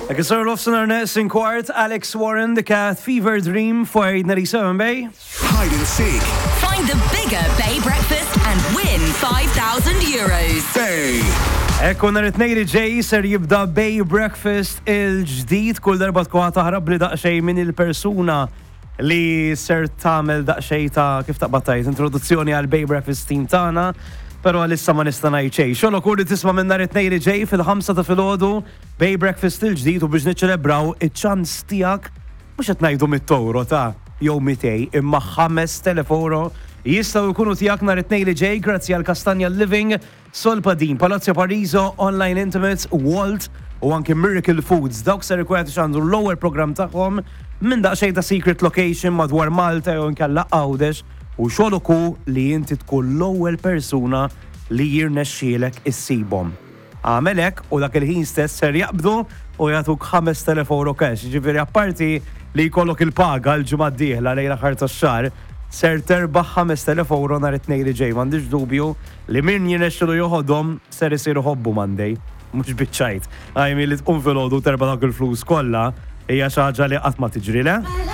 Hekk isir l-offsenar neqsin kwart, Alex Warren, The Cat, Fever Dream, fuq 97 Bay. Hide and seek. Find the bigger Bay Breakfast and win 5,000 euros. Bay. Ekku nhar it-Tnejn li ġej ser jibda Bay Breakfast il-ġdid kull darba tkun taħrab li daqsxejn minn il-persuna li ser tagħmel daqsxejn ta' kif taqbad tgħid introduzzjoni għal Bay Breakfast team tagħna, però għalissa ma nista' ngħid xejn. Xogħlok hu li tisma' minn nhar it-Tnejn li ġej fil-ħamsa ta' filgħodu Bay Breakfast il-ġdid u biex niċċelebraw iċ-ċans tiegħek mhux qed ngħidu mit-euro ta' jew 200 imma 5000 euro jistgħu jkunu tiegħek nhar it-Tnejn li ġej grazzi għal Kastanja Living Solpadim, Palazzo Pariso, Online Intimates, Walt u anki Miracle Foods. Dawk ser ikun qed ixandru l-ewwel programm tagħhom minn daqsxejn ta' secret location madwar Malta jew inkella Għawdex u xogħlok hu li inti tkun l-ewwel persuna li jirnexxielek issibhom. Agħmel hekk u dak il-ħin stess ser jaqbdu u jagħtuk 5,000 euro cash. Jiġifieri apparti li jkollok il-paga l-ġimgħa d-dieħla lejn l-aħħar tax-xahar, ser terbaħ 5,000 euro nhar it-Tnejn li ġej. M'għandix dubju li min jirnexxilu joħodhom ser isir iħobbu Monday. Mhux biċ-ċajt. I mean li tqum filgħodu u terbaħ dawk il-flus kollha hija xi ħaġa li qatt ma tiġri, le?